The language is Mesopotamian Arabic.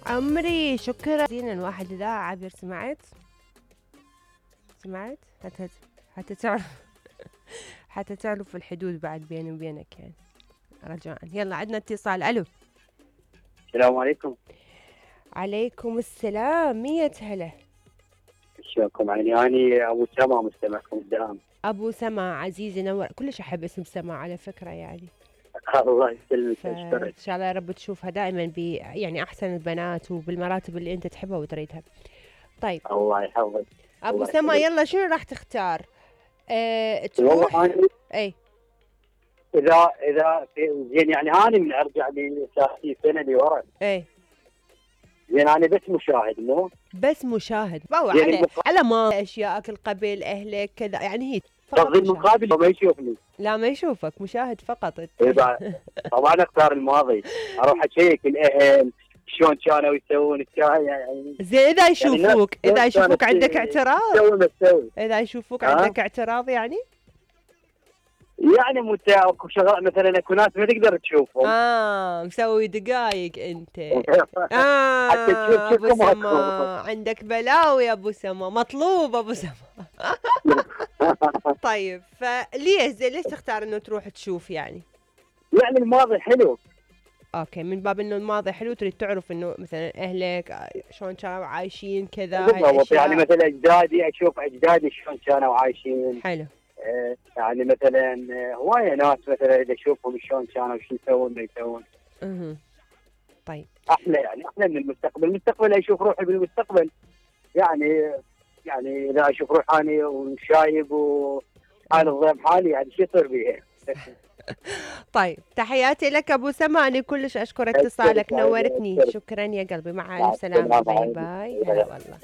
عمري شكرا. زين الواحد اذا عابر سمعت حتى تعرف حتى تعرف الحدود بعد بيني وبينك يعني رجاء. يلا عندنا اتصال. الو السلام عليكم. عليكم السلام. مية هلا. شلونكم؟ اني ابو سما مستمعكم الدائم. ابو سما عزيزي نور. كلش احب اسم سما على فكره يعني. الله يسلمك. ان شاء الله يا رب تشوفها دائما يعني احسن البنات وبالمراتب اللي انت تحبها وتريدها. طيب الله يحفظك ابو سما. يلا شنو راح تختار؟ تروح اي اذا زين يعني انا من ارجع لي 30 سنه لورا. اي زين انا بس مشاهد مو بس مشاهد على ما اشياءك القبل اهلك كذا يعني هي قصدي المقابل ما يشوفني. لا ما يشوفك مشاهد فقط. طبعا اختار الماضي. اروح اشيك الاهل شلون كانوا يسوون يعني. زين اذا يشوفوك يعني اذا يشوفوك عندك اعتراض؟ اذا يشوفوك عندك اعتراض يعني اكو شغلات مثلا اكو ناس ما تقدر تشوفهم. مسوي دقايق انت. حتى تشوف ابو سما عندك بلاوي يا ابو سما. مطلوب ابو سما. طيب فليش ليش تختار انه تروح تشوف يعني الماضي حلو. اوكي من باب انه الماضي حلو تريد تعرف انه مثلا اهلك شلون كانوا عايشين كذا. يعني مثلا اجدادي اشوف اجدادي شلون كانوا عايشين. حلو. يعني مثلا هوايه ناس مثلا اذا اشوفهم شلون كانوا شو يسوون ما يسوون. طيب احلى من المستقبل اشوف روحي بالمستقبل يعني اذا اشوف روحي اني وشايب وحال الضيم حالي يعني شو يصير بيها. طيب تحياتي لك ابو سما. انا كلش اشكر اتصالك نورتني. شكرا يا قلبي. مع السلامه. باي باي. هلا والله.